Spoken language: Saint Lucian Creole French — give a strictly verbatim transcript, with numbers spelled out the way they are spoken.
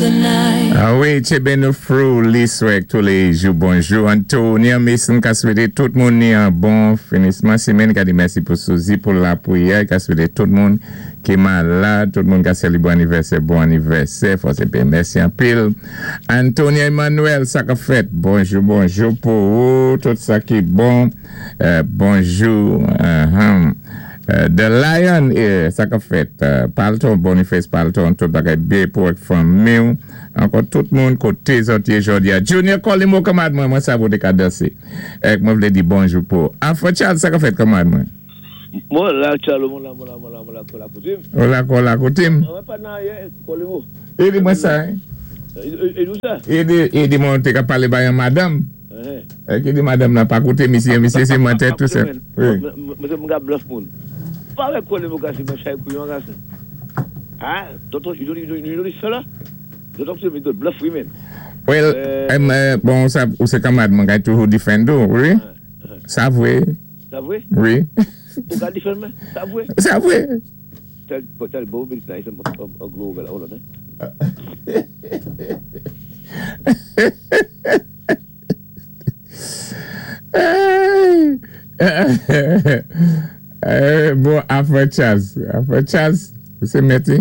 the night. Ah wi, Tché nou frou liswèk tou lé jou. Bonjou, Antonia Mason, ka swété tout moun ni an bon finisman simenn, ka di mèsi pou Suzy pou lapwiyè, ka swété tout moun ki malad, tout moun ka sélébwé anivèsè, bon anivèsè, fò sé byen, mèsi anpil. Antonia Emmanuel, sa ka fèt, bonjou, bonjou pou ou, tout sa ki bon, euh, bonjou, uh-huh. Euh, The Lion, eh, sa ka fèt, euh, Palton, Boniface Palton, tout bagay byen pou ak fanmi ou, ankò tout moun koté zòt yé jòdi a. Junior Colimo, kanmad mwen, mwen sav ou té ka dansé. Ek mwen vlé di bonjou pou. Afro Charles, sa ka fèt kanmad mwen? Mwen la, Charles, mwen la, mwen la, mwen la, mwen la, mwen la koutim. Ou la kon la koutim? Mwen pa nan yé, Colimo. E di mwen sa, eh? E nou sa? E di, e di mwen té ka palé bay an madanm. E ki di madanm nan pa kouté misyé, misyé sé mantè tout sa. Wi. Mwen se mwen ka bluff moun. Pa wè Colimo kasi mwen chay kouyon kasi. Ah, don't you know, you know, you know this fella? Don't talk to me, don't bluff women. Well, em, euh, bon, sa, ou sé kanmad mwen kay toujou defend ou, wi? Sa vwé? Sa vwé? Wi. Ou ka defend mwen? Sa vwé? Sa vwé? Tell, tell Bo, it's nice, I'm a glow over, hold on, eh? Hey! Eh, bon, Afro Charles. Afro Charles, ou sé mèti?